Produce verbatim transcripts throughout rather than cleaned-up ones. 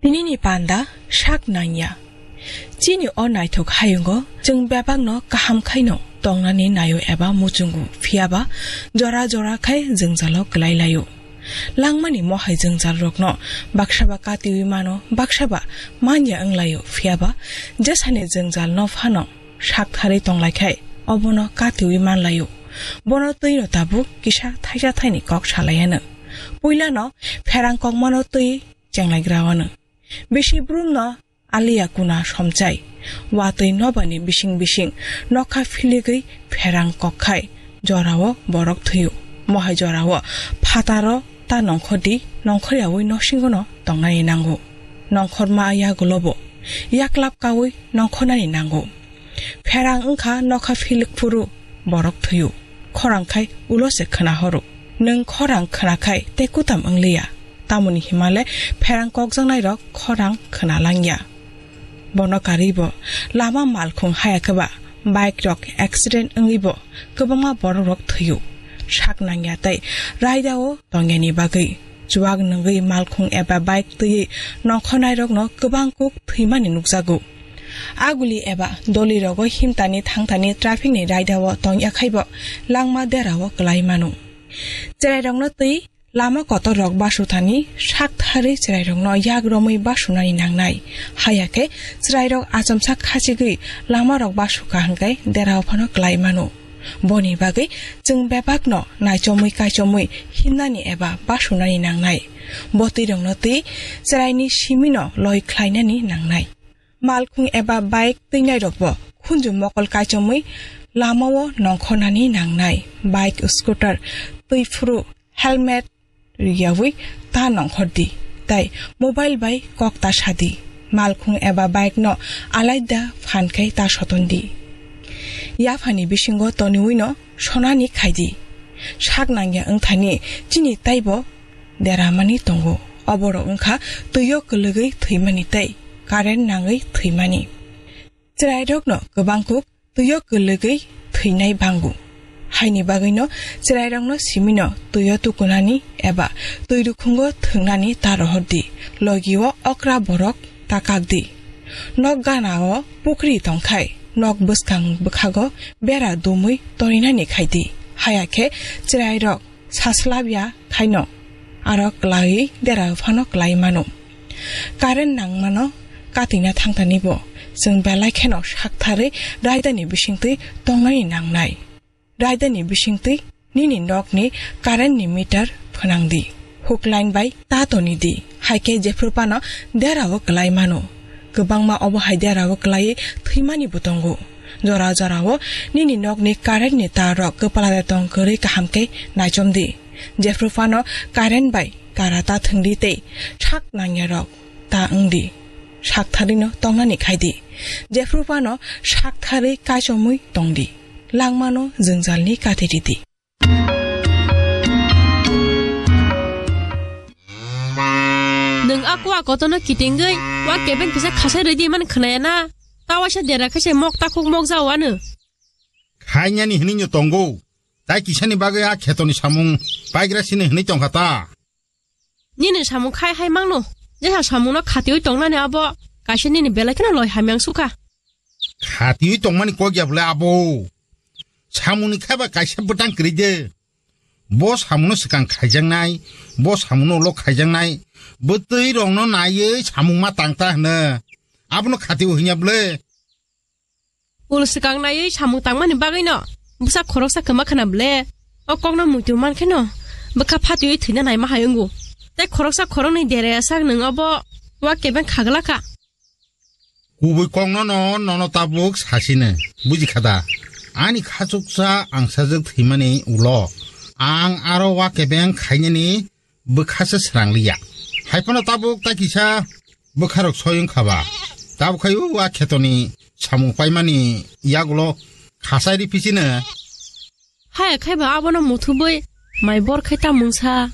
Nini panda sak nangya. Chini o naithok hayungo chwng bebakno kaham khaino tongnani naio eba muchungo, phiyaba jora jora khai jwngjalo kwlai laio. Langmani mohai jwngjalrokno baksaba katiwi mano, baksaba manya wnglaio, phiyaba jesani jwngjal no phano sak tharwi tonglaikhai obono katiwi manlaio. Bono twino tabuk kisa thaisa thaini kok salaiano. Puilano pherang kokmano twi chenglaigrao-ano. Bisi brumno aliya kuna somchai. Watwi nobani bising bising nokha philigwi pherang kokkhai jorao borok thwio. Mohai jorao phataro ta nongkhordi, nongkhoryawi nosingono tongnani nango. Nongkhorma yagulobo yaklap kaui nongkhornani nango. Pherang wngkha nokha philik phuru borok thwio. Khorang khai ulo se khwna horo. Nwng khorang khwna khai tei kutam wngliya. Tamoni himale pherang kokjaknairok khorang khwna langya. Bono karwibo lama malkhung haya khe ba bike rok accident wngwibo kwbangma borok rok thwio. Sak nangya tei raidao tongyani bagwi chuak nungwi malkhung eba bike twiwi nongkhornairokno kwbang kuk thwimani nukjago. Aguli eba dolirogo himtani thangtani traffic ni raidao tongya khaibo langma derao kwlai mano. Cherairokno twi lama kotor rok basu thani sak tharwi cherairokno yak romwi basunani nangnai. Haya khe cherairok achomsa khachigwi lama rok basu kha hwnkhe derao phano kwlai mano. Boni bagwi chwng bebakno naichomwi kaichomwi himnani eba basunani nangnai. Bo twirokno twi cheraini simino loi khlainani nangnai. Malkhung eba bike twinairokbo khunju mokol kaichomwi lamao nongkhornani nangnai. Bike, scooter twi phuru helmet riyawi ta nongkhor di, tei mobile bai kok ta sa di. Malkhung eba bike no alaida phan khai ta soton di. Yaphani bisingo toniwi no sonani khai di. Sak nangya wngthani chini taibo deramani tongo. Oborok wngkha twio kwlwgwi thwimani tei current nangwi thwimani. Chwrairokno kwbang kuk twio kwlwgwi thwinai bango. Haini bagwino chwrairokno simino twio tukunani eba twi rukhungo thwngnani ta rohor di, logio okra borok ta kak di. Nok ganao pukri tongkhai nok bwskang bwkhago bera dumwi torinani khai di. Haya khe chwrairok saslabya khaino aro kwlaiwi dera phano kwlai mano. Current nangmano katina thangtani bo chwng belai kheno saktharwi raidani bisingtwi tongnani nangnai. Raidani bisingtwi nini nokni current ni meter phwnang di. Hook line bai ta toni di. Hai khe jephru phano derao kwlai mano. Kwbangma obo hai derao kwlaiwi thwimani bo tongo. Jora jorao nini nokni current ni tar rok kwpla de tong kwrwi kaham khe naichom di. Jephru phano current bai kara ta thwng di tei sak nangya rok ta wng di. Sak tharwi no tongnani khai di. Jephru phano sak tharwi kaichomwi tong di. Langmano jwngjalni kati ridi. Nwng a kua kotorno kitingwi wa kebeng kisa khasai rwidi man khwnaya na? Ta waisa dera khaise mok takhuk mok jao ano. Khainani hinwi no tongo. Tai kisani bagwi a khetoni samung paigra sini hinwi tongkha ta. Nini samung khai hai mangno. Jesa samungno khatiwi tongnani abo kaisa nini belai kheno loi hamyang sukha. Khatiwi tongmani kok ya bwle abo. Samungni khaiba kaisa bwtang kwrwi de. Bo samungno swkang khaijaknai, bo samungno ulo khaijaknai. Bwtwi rokno naiwi samung ma tang ta hwno. Abono khatiwi hwnya bwle. Ul swkang naiwi samung tangmani bagwino bwsa khoroksa kwma khna bwle. O kokno muitu man kheno bwkha phatiwi thwina naima hai wngo. Tei khoroksa khoroknwi deraya sak nwng obo wa kebeng khagla kha. Kubui kokno no nono tabuk sasino buji kha da. Ani khachuksa ang sajwk thwimani ulo ang aro wa kebeng khainani bwkhasa srang liya. Hai phano tabuk ta kisa bwkharok soi wngkha ba. Tabuk khai o a khetoni samung paimani yagulo khasai ri pisino. Haya khai ba abono muthubui mai bor khai ta mungsa.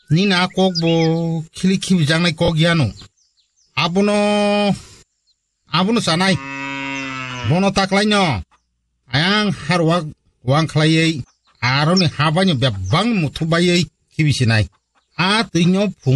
Nini a kok bo khili khibijaknai kok yano. Abono Abono chanai. Bono taklaino ayang harwak wang khlaiwi aroni habaino bebang muthu baiwi khibisinai. A twino phung